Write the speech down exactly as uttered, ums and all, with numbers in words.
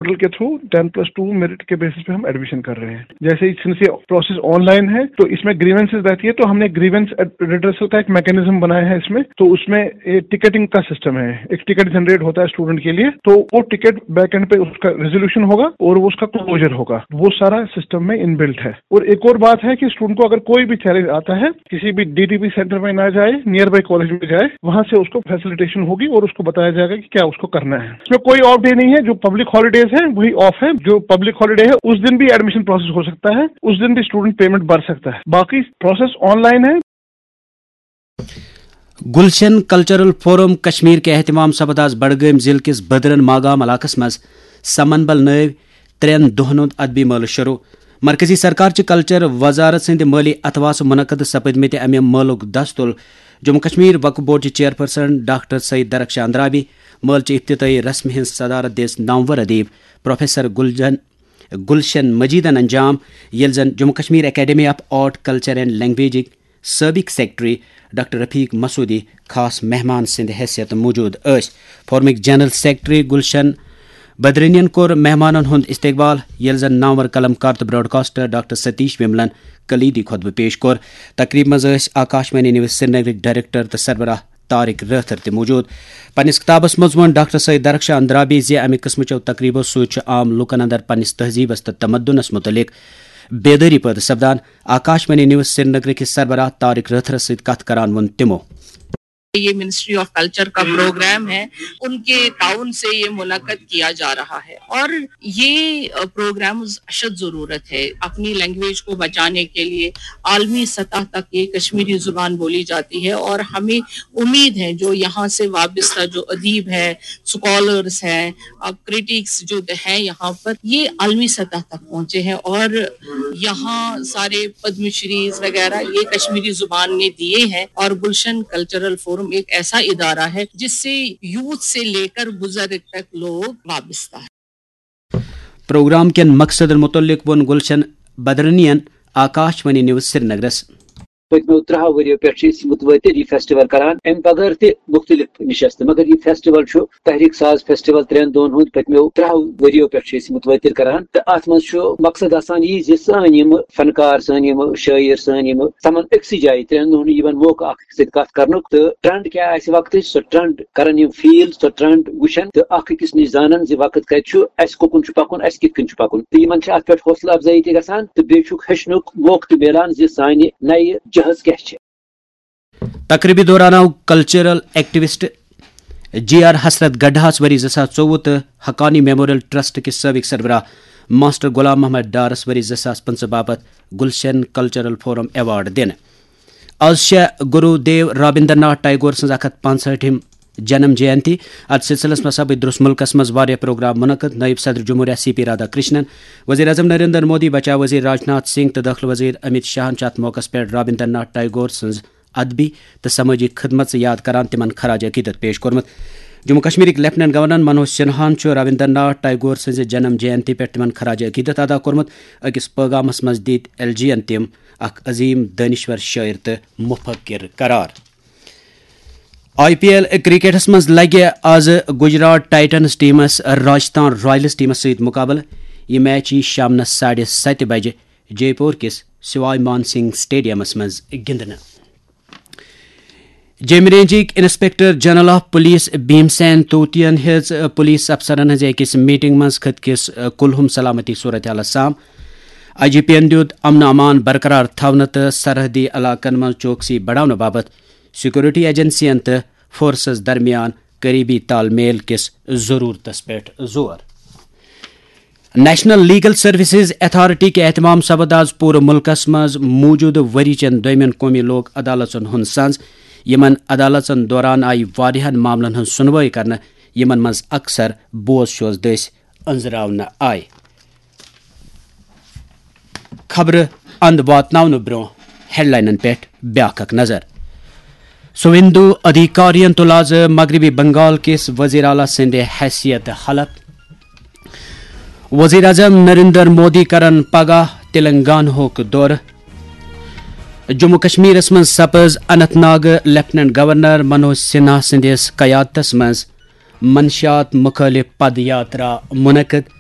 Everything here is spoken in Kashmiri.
پورٹل کے through ten plus two merit کے بیسس پہ ہم ایڈمیشن کر رہے ہیں۔ جیسے ہی سنس یہ پروسیس آن لائن ہے تو اس میں گریونسز رہتی ہے، تو ہم نے گریونس ریڈریسل کا ایک میکانزم بنایا ہے اس میں۔ تو اس میں ٹکٹنگ کا سسٹم ہے، ایک ٹکٹ جنریٹ ہوتا ہے اسٹوڈنٹ کے لیے، تو وہ ٹکٹ بیک اینڈ پہ اس کا ریزولوشن ہوگا اور وہ اس کا کلوجر ہوگا، وہ سارا سسٹم میں ان بلٹ ہے۔ اور ایک اور بات ہے کہ اسٹوڈنٹ کو اگر کوئی بھی چیلنج آتا ہے، کسی بھی ڈی ڈی پی سینٹر میں نہ جائے، نیئر بائی کالج میں جائے، وہاں سے اس کو فیسلیٹیشن ہوگی اور اس کو بتایا جائے گا کہ کیا اس کو کرنا ہے۔ اس میں کوئی آف ڈے نہیں ہے، جو پبلک ہالیڈیز ہیں وہی آف ہے، جو پبلک ہالیڈے ہے اس دن بھی ایڈمیشن پروسیس ہو سکتا ہے، اس دن بھی اسٹوڈنٹ پیمنٹ بھر سکتا ہے، باقی پروسیس آن لائن ہے۔ گلشن کلچرل فورم کشمیر کے اہتمام سپد آز بڈگام ضلع کس بدرن ماگام علاقس منٛز سمن بل نٲوۍ ترٛٮ۪ن دۄہن ہُنٛد ادبی مٲلہٕ شروع۔ مرکزی سرکار چہِ کلچر وزارت سٕنٛدِ مٲلی اتھواسہٕ منعقد سپدمٕتہِ امہِ مٲلُک دستُل جموں کشمیر وقف بورڈ چہِ چیئرپرسن ڈاکٹر سعید درخشان اندرابی۔ مٲلہٕ چہِ افتتاحی رسمہِ ہٕنٛز صدارت دِژ نامور ادیب پروفیسر گلجن گلشن مجیدن انجام، ییٚلہِ زن Jammu Kashmir academy of art, culture and لینگویجٕکۍ سٲبق سیکرٹری ڈاکٹر رفیق مسعودی خاص مہمان سٕنٛدِ حیثیت موجود ٲسۍ۔ فورمٕکۍ جنرل سیکرٹری گلشن بدرنین کوٚر مہمانن ہُنٛد استقبال، ییٚلہِ زن نامور قلم کار تہٕ براڈکاسٹر ڈاکٹر ستیش وملن کلیدی خطبہٕ پیش کوٚر۔ تقریبہِ منٛز ٲسۍ آکاشوانی نیوز سرینگرٕکۍ ڈائریکٹر تہٕ سربراہ طارق رٲتھر تہِ موجود۔ پننِس کتابس منٛز ووٚن ڈاکٹر سعید درخشان اندرابی زِ امہِ قٕسمٕچو تقریبو سۭتۍ چھُ عام لوٗکن اندر پننِس تہذیبس تہٕ تمدنس متعلق بیدٲری پٲدٕ سپدان۔ آکاشوانی نیوز سرینگر کِس سربراہ طارق رٲتھرس سۭتۍ کتھ کران ووٚن تِمو۔ یہ منسٹری آف کلچر کا پروگرام ہے، ان کے تعاون سے یہ منعقد کیا جا رہا ہے اور یہ پروگرامز اشد ضرورت ہے اپنی لینگویج کو بچانے کے لیے۔ عالمی سطح تک یہ کشمیری زبان بولی جاتی ہے اور ہمیں امید ہے جو یہاں سے وابستہ جو ادیب ہیں، اسکالرس ہیں، کریٹکس جو ہیں یہاں پر، یہ عالمی سطح تک پہنچے ہیں اور یہاں سارے پدم شریز وغیرہ یہ کشمیری زبان میں دیے ہیں اور گلشن کلچرل فورم ایک ایسا ادارہ ہے جس سے یوتھ سے لے کر بزرگ تک لوگ وابستہ ہیں۔ پروگرام کٮ۪ن مقصدن متعلق ووٚن گلشن بدرنین آکاشوانی نیوز سرینگرس۔ پٔتمیو ترٛہو ؤرِیو پٮ۪ٹھ چھِ أسۍ مُتوٲتِر یہِ فیسٹیول کران، اَمہِ بغٲر تہِ مُختٔلِف نِشست، مگر یہِ فیسٹیول چھُ تحریک ساز فیسٹیول ترٛٮ۪ن دۄہن ہُنٛد پٔتمیو ترٛہو ؤرِیو پٮ۪ٹھ چھِ أسۍ یہِ مُتوٲتِر کران۔ تہٕ اَتھ منٛز چھُ مقصد آسان یہِ زِ سٲنۍ یِم فنکار، سٲنۍ یِم شٲعر، سٲنۍ یِم تِمن أکسٕے جایہِ ترٛٮ۪ن دۄہن یِوان موقعہٕ اکھ أکِس سۭتۍ کتھ کرنُک، تہٕ ٹرینڈ کیٛاہ آسہِ وقتٕچ، سۄ ٹرینڈ کرن یِم فیل، سۄ ٹرینڈ وٕچھن تہٕ اکھ أکِس نِش زانن زِ وقت کتہِ چھُ، اسہِ کُکُن چھُ پکُن، اسہِ کِتھ کٔنۍ چھُ پکُن۔ تہٕ یِمن چھِ اتھ پٮ۪ٹھ حوصلہٕ افزٲیی تہِ گژھان تہٕ بیٚیہِ چھُکھ ہیٚچھنُک موقعہٕ تہِ میلان زِ سانہِ نَیہِ جہاز کیٛاہ چھِ۔ تقریبہِ دوران آو کلچرل ایکٹیوسٹ جی آر حسرت گڈھاہس ؤری زٕ ساس ژوٚوُہ تہٕ حقانی میموریل ٹرسٹ کِس سٲبق سربراہ ماسٹر غلام محمد ڈارس ؤری زٕ ساس پٕنٛژٕہ باپتھ گلشن کلچرل فورم ایوارڈ دِنہٕ۔ از چھےٚ گرو دیو رابندر ناتھ ٹیگور سٕنٛز اکھ ہتھ پانٛژہٲٹھِم جنم جینتی۔ اتھ سلسلس منٛز سپٕدۍ درس ملکس منٛز واریاہ پروگرام منعقد۔ نٲیِب صدر جمہوریہ سی پی رادھا کرشنن، وزیر اعظم نریندر مودی، بچاو وزیر راجناتھ سنگھ تہٕ دٲخلہٕ وزیر امت شاہن چھِ اتھ موقعس پٮ۪ٹھ رابندر ناتھ ٹیگور سٕنٛز ادبی تہٕ سمٲجی خدمژ یاد کران تِمن خراج عقیدت پیش کوٚرمُت۔ جموں کشمیرٕکۍ لیفٹیننٹ گورنر منوج سنہاہن چھُ رابندر ناتھ ٹیگور سٕنٛزِ جنم جینتی پٮ۪ٹھ تِمن خراج عقیدت ادا کوٚرمُت۔ أکِس پٲغامس منٛز دِتۍ ایل جی ین تِم اکھ عظیم دٲنِشور شٲعر تہٕ مفکر قرار۔ آئی پی ایل کرکٹس منٛز لگہِ آز گجرات ٹائٹنز ٹیمس راجستھان رائلز ٹیمس سۭتۍ مقابلہٕ۔ یہِ میچ یی شامنس ساڑِ ستہِ بجہِ جے پور کِس سوائی مان سنگھ سٹیڈیمس منٛز گِنٛدنہٕ۔ جیمہِ رینجٕکۍ inspector general of police Bhim Sen توتین ہیٚژ پولیس افسرن ہٕنٛزِ أکِس میٹنگ منٛز خطہٕ کِس کُلہُم سلامتی صورتحالس سام۔ آئی جی پی ین دیُت امن امان برقرار تھاونہٕ تہٕ سرحدی علاقن منٛز چوکسی بڑاونہٕ باپتھ سیکورٹی ایجنسین تہٕ فورسز درمیان قریبی تال میل کِس ضرورتس پٮ۪ٹھ زور۔ نیشنل لیگل سروسز اتھارٹی کہِ اہتمام سپد آز پوٗرٕ مُلکس منٛز موٗجوٗدٕ ؤری چٮ۪ن دوٚیمٮ۪ن قومی لوک عدالژن ہُنٛد سنٛز۔ یِمن عدالژن دوران آیہِ واریاہن معاملن ہٕنٛز سُنوٲے کرنہٕ، یِمن منٛز اکثر بوز شوز دٔسۍ أنٛزراونہٕ آیہِ۔ خبرٕ اند واتناونہٕ برٛونٛہہ ہیڈلاینن پٮ۪ٹھ بیاکھ اکھ نظر۔ سویندو ادھیکارین تُل آز مغربی بنگال کِس وزیر اعلیٰ سٕنٛدِ حیثیت حلف۔ وزیر اعظم نریندر مودی کرن پگاہ تلنگانہُک دورٕ۔ جموں کشمیرس منٛز سپٕز اننت ناگ لیفٹیننٹ گورنر منوج سنہا سٕنٛدِس قیادتس منٛز منشیات مخالف پد یاترا منعقد۔